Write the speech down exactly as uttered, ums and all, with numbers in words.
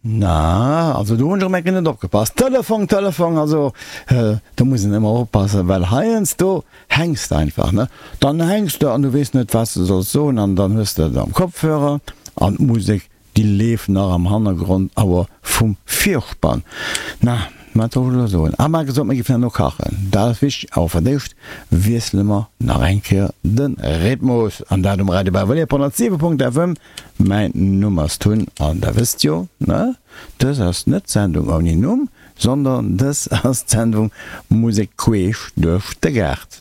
Na, also do hunn ech erëm eng Kéier net opgepasst. Telefong, Telefong, also do muss een ëmmer oppassen, well heiansdo hänks de einfach, ne? Dann hänks de an du weess net, wat s de solls soen an dann hues de et am Kopfhörer an d'Musek, déi leeft nach am Hannergrond, awer vum Virspann. Na, wat soll ech elo soen? Ah, mer gesot, mir géifen herno kachen, dat ass wichteg, awer fir d'éischt wiessele mer nach eng Kéier de Rhythmus an dat um Radio Bavellier op honnertsiwe Punkt FM. Mäin Numm ass Tun an der wësst jo, ne, dës ass net d'Sendung ouni Numm, sondern dës ass d'Sendung Musek queesch duerch de Gaart.